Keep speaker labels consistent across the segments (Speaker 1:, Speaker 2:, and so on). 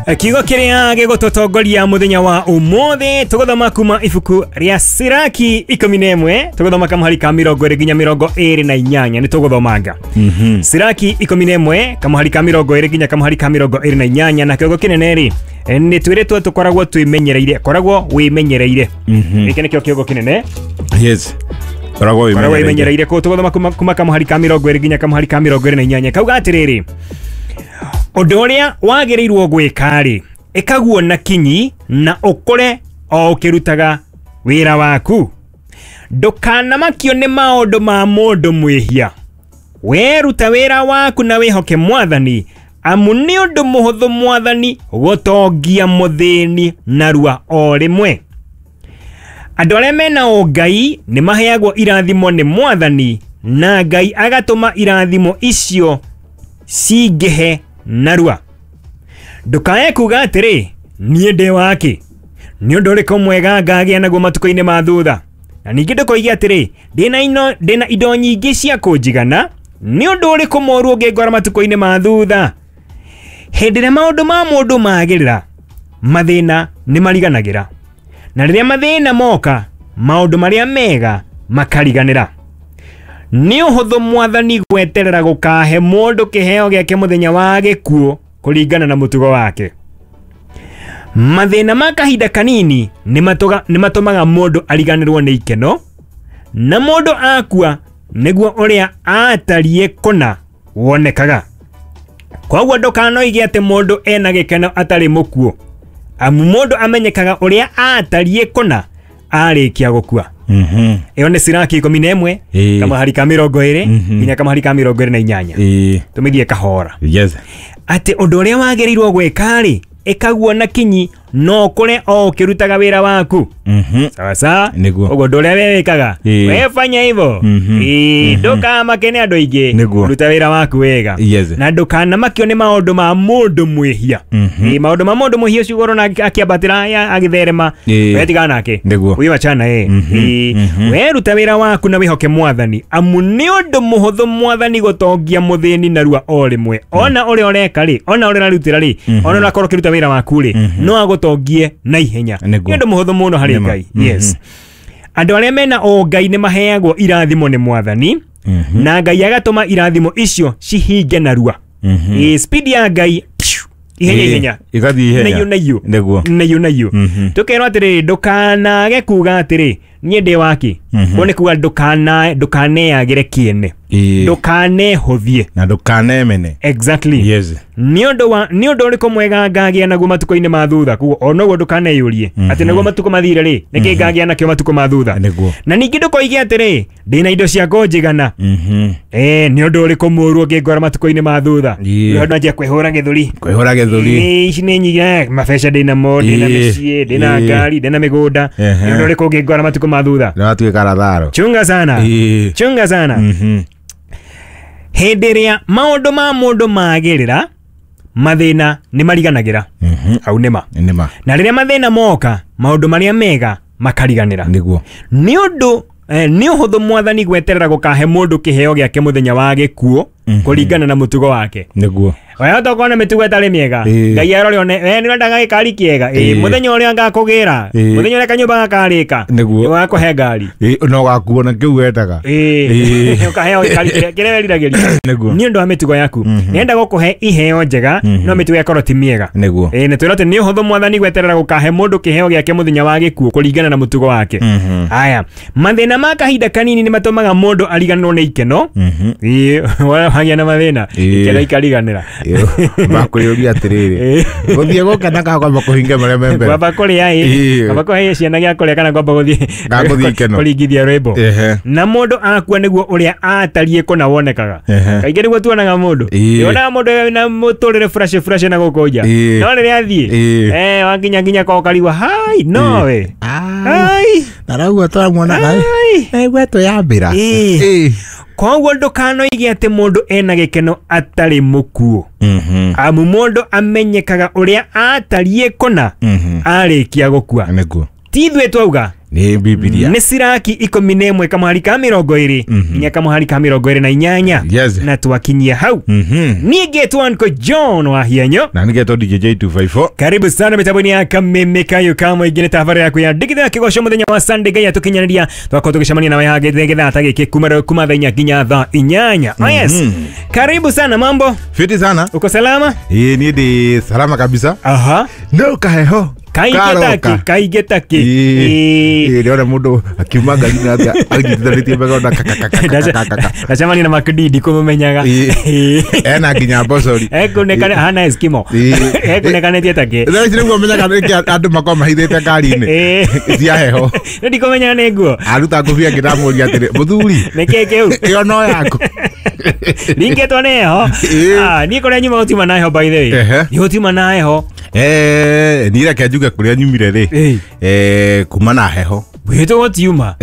Speaker 1: Kiugo kĩrĩa gĩgũtũtongoria mũthenya wa ũmũthĩ tũgũthoma kuma ibuku rĩa Siraki 11 tũgũthoma kamũhari ka 20 nginya 28 nĩ tũgũthomanga. Siraki 11 kamũhari ka 20 nginya kamũhari ka 28 na kĩongo kĩnene rĩ nĩ twĩrĩtwo tũkoragwo twĩmenyereire, koragwo wĩmenyereire. Gĩkĩ nĩkĩo kĩongo kĩnene.
Speaker 2: Yes. Koragwo
Speaker 1: koragwo
Speaker 2: wĩmenyereire.
Speaker 1: wĩmenyereire kũu tũgũthoma kuma kamũhari ka 20 nginya kamũhari ka 28 kauga atĩrĩrĩ, ũndũ ũrĩa wagĩrĩirwo gwĩka-rĩ, ĩkaguo na kinyi na ũkũre o ũkĩrutaga wĩra waku. Ndũkanamakio nĩ maũndũ ma mũndũ mwĩhia. Weruta wĩra waku na wĩhoke Mwathani, amu nĩ ũndũ mũhũthũ Mwathani gũtongia mũthĩni narua o rĩmwe. Andũ arĩa mena ũngai nĩ maheagwo irathimo nĩ Mwathani, na Ngai agatũma irathimo icio cingĩhe narua. Ndũkae kuga atĩrĩ, niĩ ndĩ wake, nĩ ũndũ ũrĩkũ mwega ngagĩa naguo matukũ-inĩ ma thutha? Na ningĩ ndũkoige atĩrĩ, ndĩna indo nyingĩ cia kũnjigana, nĩ ũndũ ũrĩkũ mũũru ũngĩngora matukũ-inĩ ma thutha? Hĩndĩ ĩrĩa maũndũ ma mũndũ magĩrĩra, mathĩna nĩ mariganagĩra, na rĩrĩa mathĩna moka, maũndũ marĩa mega makariganĩra. Nĩ ũhũthũ Mwathani gweterera gũkahe mũndũ kĩheo gĩake mũthenya wa gĩkuũ kũringana na mũtugo wake. Mathĩna ma kahinda kanini nĩ matũmaga mũndũ ariganĩrwo nĩ ikeno, na mũndũ akua nĩguo ũrĩa atariĩ kũna wonekaga. Koguo ndũkanoige atĩ mũndũ ena gĩkeno atarĩ mũkuũ, amu mũndũ amenyekaga ũrĩa atariĩ kũna arĩkia gũkua. Ĩyo nĩ Siraki 11 kamũhari ka 20 nginya kamũhari ka 28. Tũmĩthiĩ kahora.
Speaker 2: Yes.
Speaker 1: Atĩ ũndũ ũrĩa wagĩrĩirwo gwĩka-rĩ, ĩkaguo na kinyi no ũkũre o ũkĩrutaga wĩra waku. Sawa sawa.
Speaker 2: Nĩguo.
Speaker 1: Ũguo ũndũ ũrĩa we wĩkaga, we fanya hivyo. Ndũkamake nĩ andũ aingĩ.
Speaker 2: Nĩguo.
Speaker 1: Ruta wĩra waku wega.
Speaker 2: Yes.
Speaker 1: Na ndũkanamakio nĩ maũndũ ma mũndũ mwĩhia. Maũndũ ma mũndũ mwĩhia ũcio ũrona akĩambatĩra agĩtherema, we tigana nake.
Speaker 2: Nĩguo.
Speaker 1: Wĩ wachana ye. We ruta wĩra waku na wĩhoke Mwathani, amu nĩ ũndũ mũhũthũ Mwathani gũtongia mũthĩni narua o rĩmwe. Ona ũrĩa ũreka rĩ, ona ũrĩa ũrarutĩra rĩ, ona ũrakorwo ũkĩruta wĩra waku rĩ, no agũtongie na ihenya.
Speaker 2: Nĩguo.
Speaker 1: Nĩ ũndũ mũhũthũ mũno harĩ
Speaker 2: Nĩma.
Speaker 1: Ngai. Yes. Andũ arĩa mena ũngai nĩ maheagwo irathimo nĩ Mwathani, na Ngai agatũma irathimo icio cihinge narua. Speed ya Ngai ihenya ihenya.
Speaker 2: Igathiĩ ihenya.
Speaker 1: Naiyũ naiyũ.
Speaker 2: Nĩguo.
Speaker 1: Naiyũ naiyũ. Tũkerwo atĩrĩrĩ, ndũkanage kuga atĩrĩ, niĩ ndĩ wake. Ũguo nĩ kuga ndũkaneagĩre kĩene. Ndũkanehũthie.
Speaker 2: Na ndũkanemene.
Speaker 1: Exactly.
Speaker 2: Yes.
Speaker 1: Nĩ ũndũ ũrĩkũ mwega ngagĩa naguo matukũ-inĩ ma thutha? Koguo o noguo ndũkaneyũrie atĩ nĩguo matukũ mathire rĩ, nĩkĩ ngagĩa nakĩo matukũ ma thutha?
Speaker 2: Nĩguo.
Speaker 1: Na ningĩ ndũkoige atĩrĩ, ndĩna indo cia kũnjigana. Nĩ ũndũ ũrĩkũ mũũru ũngĩngora matukũ-inĩ ma thutha? Nĩ anjia kwĩhũra gĩthũri.
Speaker 2: Kwĩhũra gĩthũri.
Speaker 1: Ici nĩ nyingĩ, mabeca ndĩnamo, ndĩna mĩciĩ, ndĩna ngari, ndĩna mĩgũnda. Nĩ ũndũ ũrĩkũ ũngĩngora matukũ ma thutha?
Speaker 2: Nĩ watuĩka Lazaro.
Speaker 1: Chunga sana. Chunga sana. Hĩndĩ ĩrĩa maũndũ ma mũndũ magĩrĩra, mathĩna nĩ mariganagĩra. Hau nĩma.
Speaker 2: Nĩma.
Speaker 1: Na rĩrĩa mathĩna moka, maũndũ marĩa mega makariganĩra.
Speaker 2: Nĩguo.
Speaker 1: Nĩ ũndũ nĩ ũhũthũ Mwathani gweterera gũkahe mũndũ kĩheo gĩake mũthenya wa gĩkuũ kũringana na mũtugo wake.
Speaker 2: Nĩguo.
Speaker 1: Wewe ũtokorwo na mĩtugo ĩtarĩ mĩega, Ngai arore one, we nĩ ũrendaga gĩkari kĩega, mũthenya ũrĩa ngakũgĩra, mũthenya ũrĩa kanyũmba gakarĩka,
Speaker 2: Nĩguo.
Speaker 1: ũgakũhe ngari.
Speaker 2: No gakuo na kĩu wendaga.
Speaker 1: Ũkaheo gĩkari kĩrĩa weriragĩria.
Speaker 2: Nĩguo.
Speaker 1: Nĩ ũndũ wa mĩtugo yaku. Nĩenda gũkũhe iheo njega, no mĩtugo ĩkorwo ti mĩega.
Speaker 2: Nĩguo.
Speaker 1: Nĩ twĩrwo atĩ nĩ ũhũthũ Mwathani gweterera gũkahe mũndũ kĩheo gĩake mũthenya wa gĩkuũ kũringana na mũtugo wake. Haya, mathĩna ma kahinda kanini nĩ matũmaga mũndũ ariganĩrwo nĩ ikeno. Wagĩa na mathĩna, ikeno ikariganĩra.
Speaker 2: Bakwĩyũria atĩrĩrĩ, gũthiĩ gũkena kana kwamba kũhinga marĩa me mbere?
Speaker 1: Kwamba kũrĩa ĩ, kwamba kũhe ciana gĩa kũrĩa kana kwamba gũthiĩ
Speaker 2: Kana gũthiĩ ikeno.
Speaker 1: kũringithia rwĩmbo. Na mũndũ akua nĩguo ũrĩa atariĩ kũna wonekaga. Kaingĩ nĩguo tuonaga mũndũ. Wonaga mũndũ na mũtũrĩre fresh fresh na gũkũ nja. No rĩrĩa athiĩ, wakinya nginya kwa ũkarigwo, hai, nowe. Hai.
Speaker 2: Narauga tũramuona naigua twĩyambĩra.
Speaker 1: Koguo ndũkanoige atĩ mũndũ ena gĩkeno atarĩ mũkuũ. Amu mũndũ amenyekaga ũrĩa atariĩ kũna arĩkia gũkua.
Speaker 2: Nĩguo.
Speaker 1: Ti ithuĩ twauga,
Speaker 2: Nĩ Bibilia.
Speaker 1: Nĩ Siraki 11 kamuhari ka 20 nginya kamuhari ka 28.
Speaker 2: Yes.
Speaker 1: Na twakinyia hau. Niĩ ngetwo Uncle John wa Hianyo.
Speaker 2: Na nĩgetwo DJ 254.
Speaker 1: Karibu sana mitambo-inĩ ya Kameme Kayo ka mũingĩ nĩ tabarĩra yaku ya ndigithũ ya kĩgoco mũthenya wa Sunday Ngai atũkinyanĩria twakorwo tũgĩcemania nawe haha gĩthaa ta gĩkĩ kuma thaa 4 nginya thaa 8. Oh yes. Karibu sana, mambo?
Speaker 2: Fiti sana.
Speaker 1: Uko salama?
Speaker 2: Ĩĩ niĩ ndĩ salama kabisa.
Speaker 1: Aha.
Speaker 2: No kaheho.
Speaker 1: Kaingĩ takĩ.
Speaker 2: Ĩĩ ndĩrona mũndũ akiuma ngari-inĩ atĩa anyitithanĩtie mbeca na
Speaker 1: Ndacemania na Makdidi kũmũmenyaga.
Speaker 2: Ena nginya mbocori.
Speaker 1: Ekunekane hana Eskimo. Ekunekanĩtie takĩ.
Speaker 2: Thaa ici nĩguo menyaga nĩkĩ andũ makoragwo mahithĩte ngari-inĩ cia heho.
Speaker 1: Nĩ ndikũmenyaga nĩ nguo.
Speaker 2: Aruta ngũbia ngĩramũria atĩrĩ, mũthuri,
Speaker 1: Nĩkĩĩ kĩu?
Speaker 2: ĩyo no yaku.
Speaker 1: Ringĩtwo nĩ heho. Niĩ kũrĩa nyuma gũtiuma na heho by the way. Nĩ gũtiuma na heho.
Speaker 2: Niĩ reke njuge kũrĩa nyumire rĩ, kuma na heho.
Speaker 1: Gwitũ gũtiuma.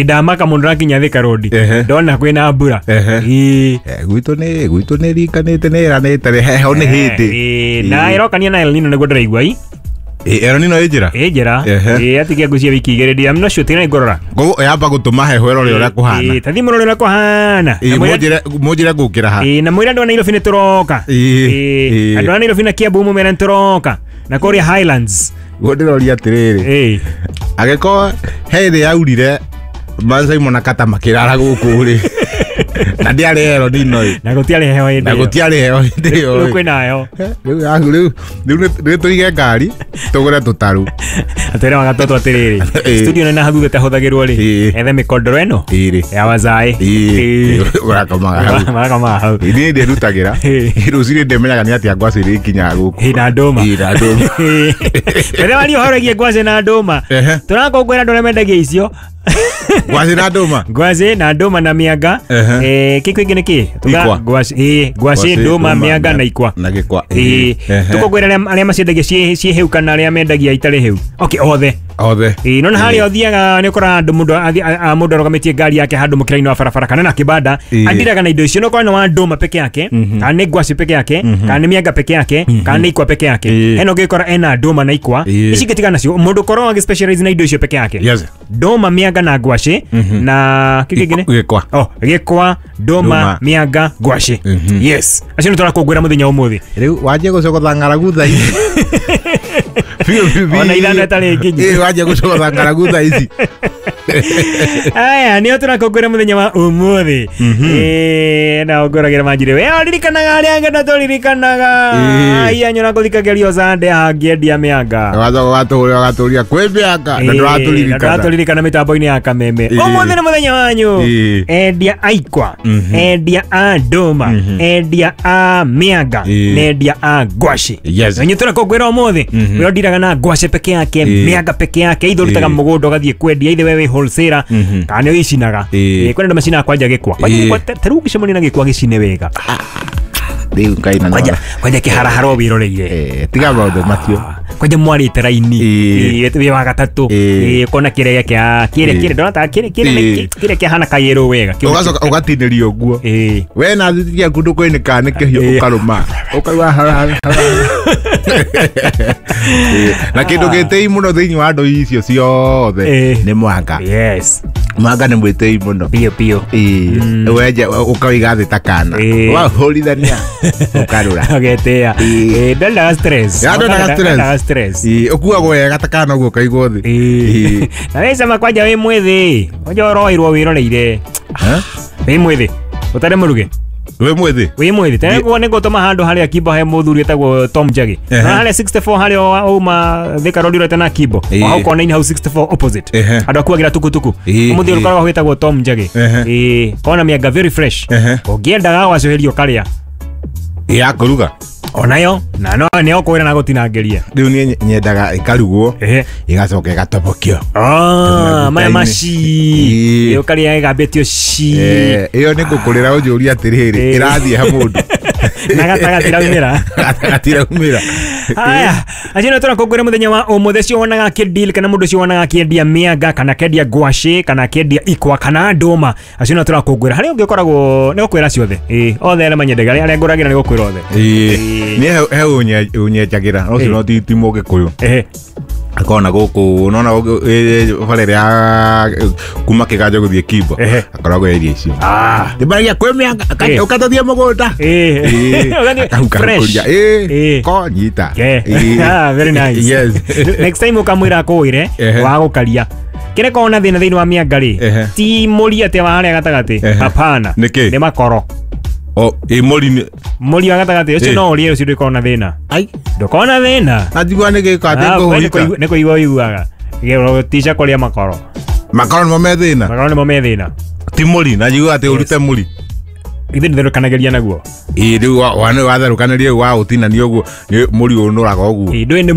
Speaker 1: Ndamaka mũndũ rakinya Thika Road. Ndona kwĩna mbura.
Speaker 2: Gwitũ nĩ gwitũ nĩ ringanĩte nĩ ĩranĩte heho nĩ hĩndĩ.
Speaker 1: Na ĩrokania na El Nino nĩguo ndĩraigua i.
Speaker 2: El Nino ĩ njĩra?
Speaker 1: Ĩ njĩra. Atigia ngũcia wiki igĩrĩ I'm not sure tiga ngũrora.
Speaker 2: Koguo yamba gũtũma heho ĩrore ũrĩa kũhana.
Speaker 1: Ta thiĩ mũrore ũrĩa kũhana.
Speaker 2: Mũnjĩre ngũkĩra ha.
Speaker 1: Na mwĩre andũ a Nairobi nĩ tũroka. Andũ a Nairobi na Kiambu mũmere nĩ tũroka. Na kũrĩa Highlands.
Speaker 2: Guo ndĩroria atĩrĩrĩ. Angĩkorwo he ĩrĩa yaurire Mansaimo na Kata makĩrara gũkũ rĩ. Na ndĩarĩ El Nino ĩ.
Speaker 1: Na gũtiarĩ heho hĩndĩ ĩyo.
Speaker 2: Na gũtiarĩ heho hĩndĩ ĩyo.
Speaker 1: Rĩu kwĩna heho.
Speaker 2: Rĩu rĩu tũige ngari tũgũre tũtarũ.
Speaker 1: Atwĩre wagatoto atĩrĩrĩ. Studio nĩ na hathutha ĩtahũthagĩrwo rĩ. Ethe mĩkondoro ĩno. Ya wazaĩ.
Speaker 2: Ũrakomaga hau.
Speaker 1: Marakomaga hau.
Speaker 2: Niĩ ndĩrutagĩra. Rũcinĩ ndĩmenyaga nĩ atĩa ngwacĩ ĩrĩkinyaga gũkũ.
Speaker 1: Na ndũma.
Speaker 2: Na ndũma.
Speaker 1: Mbere waria ũhoro wĩgiĩ ngwacĩ na ndũma. Tũrakũngũĩra andũ arĩa mendagia icio.
Speaker 2: Ngwacĩ na ndũma.
Speaker 1: Ngwacĩ na ndũma na mĩanga. Kĩ kĩngĩ nĩ kĩ? Ngwacĩ, ngwacĩ, ndũma, mĩanga na ikwa.
Speaker 2: Na gĩkwa.
Speaker 1: Tũkũngũĩra arĩa maciendagia ciĩ hĩu kana arĩa mendagia itarĩ hĩu. Okay, othe.
Speaker 2: Othe.
Speaker 1: No na harĩa ũthiaga nĩ ũkoraga andũ mũndũ arũgamĩtie ngari yake handũ mũkĩra-inĩ wa barabara kana na kĩbanda andiraga na indo icio no korwo nĩ wa ndũma peke yake kana nĩ ngwacĩ peke yake kana nĩ mĩanga peke yake kana nĩ ikwa peke yake. Hena ũngĩkora ena ndũma na ikwa ici ingĩ tigana nacio mũndũ ũkoragwo agĩ specialize na indo icio peke yake. Ndũma, mĩanga na ngwacĩ na kĩ kĩngĩ nĩ?
Speaker 2: Gĩkwa.
Speaker 1: Oh, gĩkwa, ndũma, mĩanga, ngwacĩ. Yes. Acio nĩ tũrakũngũĩra mũthenya ũmũthĩ.
Speaker 2: Rĩu wanjie gũcogotha ng'aragu thaa ici.
Speaker 1: Ona ithano ĩtarĩ nginyu.
Speaker 2: Wanjie gũcogotha ng'aragu thaa ici.
Speaker 1: Aya, nĩo tũrakũngũĩra mũthenya wa ũmũthĩ. Na ũngũragĩra manjire we ũririkanaga arĩa angĩ na tũririkanaga. Aya nyona gũthikagĩrio Sunday hangĩendia mĩanga.
Speaker 2: Ũgatũria kwĩ mĩanga na ndũratũririkana.
Speaker 1: Ndũratũririkana mĩtambo-inĩ ya Kameme. Ũmũthĩ nĩ mũthenya wanyu. Endia a ikwa, endia a ndũma, endia a mĩanga, na endia a ngwacĩ.
Speaker 2: Yes.
Speaker 1: Na inyuĩ tũrakũngũĩra ũmũthĩ. We ũndiraga na ngwacĩ peke yake, mĩanga peke yake, ithe ũrutaga mũgũnda ũgathiĩ kwendia, ithe we wĩ wholesaler kana nĩ ũicinaga. Kwĩna andũ macinaga kwanja gĩkwa. Kwanja gĩkwa ta rĩu ũngĩcemania na gĩkwa gĩcine wega.
Speaker 2: Rĩu Ngai na
Speaker 1: Kwanja kwanja kĩharahara wĩroreire.
Speaker 2: Tiga maũndũ macio.
Speaker 1: Kwanja mwarĩte raini. Wĩ wa gatatũ. Ũkona kĩrĩa kĩa kĩrĩa kĩrĩa ndona ta kĩrĩa kĩrĩa kĩrĩa kĩhana kayero wega.
Speaker 2: Ũgacoka ũgatinĩrio ũguo. We na thiti yaku ndũkũinĩka nĩ kĩhiũ ũkarũma. Ũkaigua harahara. Na kĩndũ gĩtĩi mũno thĩinĩ wa andũ icio ciothe nĩ mwanga.
Speaker 1: Yes.
Speaker 2: Mwanga nĩ mwĩtĩi mũno.
Speaker 1: Biũ biũ.
Speaker 2: Wenje ũkawĩiga thĩ ta kana. Wahũrithania ũkarũra.
Speaker 1: Ũgetĩa. Ndendaga stress.
Speaker 2: Ndendaga stress. Ũkuagwo wega ta kana ũguo ũkaigwo thĩ.
Speaker 1: Na wĩ cama kwanja wĩ mwĩthĩ. Kwanja ũroirwo wĩroreire. Wĩ mwĩthĩ. Ũtarĩ mũruge.
Speaker 2: Wĩ mwĩthĩ?
Speaker 1: Wĩ mwĩthĩ. Tene nĩ ngũtũma handũ harĩa Kimbo he mũthuri wĩtagwo Tom Njagi. Na harĩa 64 harĩa uma Thika Road ũrete na Kimbo. O hau kona-inĩ hau 64 opposite. Andũ akuagĩra tukutuku. Mũthuri ũkoragwo wĩtagwo Tom Njagi. Kona mĩanga very fresh. Ũngĩendaga gwacũhĩrio karĩa.
Speaker 2: Ya kũruga.
Speaker 1: Onayo na no nĩ ũkwĩra na gũtinangĩria.
Speaker 2: Rĩu niĩ nyendaga ĩkarugwo ĩgacoka ĩgatobokio.
Speaker 1: Maya maci. Ũkarĩa ĩgambĩtio ci.
Speaker 2: Ĩyo nĩ ngũkũrĩra ũnjũrie atĩrĩrĩ ĩrathiĩ ha mũndũ.
Speaker 1: Na gatagatĩ raumĩra.
Speaker 2: Gatagatĩ raumĩra.
Speaker 1: Haya, acio nĩ tũrakũngũĩra mũthenya wa ũmũthĩ ũcio wonaga akĩdeal kana mũndũ ũcio wonaga akĩendia mĩanga kana akĩendia ngwacĩ kana akĩendia ikwa kana ndũma. Acio nĩ tũrakũngũĩra. Harĩa ũngĩ ũkoragwo nĩ gũkwĩra ciothe. Othe arĩa manyendagia arĩa ngũragĩra nĩ gũkwĩra othe.
Speaker 2: Niĩ he ũnyenjagĩra no ũcio no ti mũgĩkũyũ. Akona gũkũ nona bara ĩrĩa kuma kĩganjo gũthiĩ Kimbo
Speaker 1: Ehe.
Speaker 2: akoragwo area icio.
Speaker 1: Ah.
Speaker 2: Ndĩmaragia kwĩ mĩanga
Speaker 1: Eh.
Speaker 2: ũkatũthiĩ mũgũnda.
Speaker 1: Eh.
Speaker 2: Akahukahukuria.
Speaker 1: Fresh.
Speaker 2: Eh, ko nyita.
Speaker 1: Yeah.
Speaker 2: Eh.
Speaker 1: Ah, very nice.
Speaker 2: Yes.
Speaker 1: Next time ukamwira akwĩre
Speaker 2: Ehe.
Speaker 1: wa gũkaria kĩrĩa korwo na thĩna thĩinĩ wa mĩanga rĩ,
Speaker 2: Ehe.
Speaker 1: ti mũri atĩ wa harĩa gatagatĩ.
Speaker 2: Ehe.
Speaker 1: Hapana.
Speaker 2: Nĩkĩ?
Speaker 1: Nĩ makoro.
Speaker 2: O, ĩ mũri nĩ
Speaker 1: Mũri wa gatagatĩ ũcio
Speaker 2: Eh.
Speaker 1: no ũrĩe, ũcio ndũkorwo na thĩna.
Speaker 2: Ai,
Speaker 1: Ndũkorwo na thĩna.
Speaker 2: na njigua nĩ gĩko atĩ
Speaker 1: Ah, we nĩ
Speaker 2: ngũhũita.
Speaker 1: nĩ kũigua ũiguaga tica kũrĩa makoro.
Speaker 2: Makoro nĩmo me thĩna.
Speaker 1: Makoro nĩmo me thĩna.
Speaker 2: Ti mũri, na njigua atĩ ũrute mũri.
Speaker 1: Ithuĩ nĩtherũkanagĩria naguo.
Speaker 2: Ĩ rĩu watherũkanĩria rĩu waũtinania ũguo nĩ mũri ũnũraga ũguo.
Speaker 1: Ĩ, ndũĩ nĩ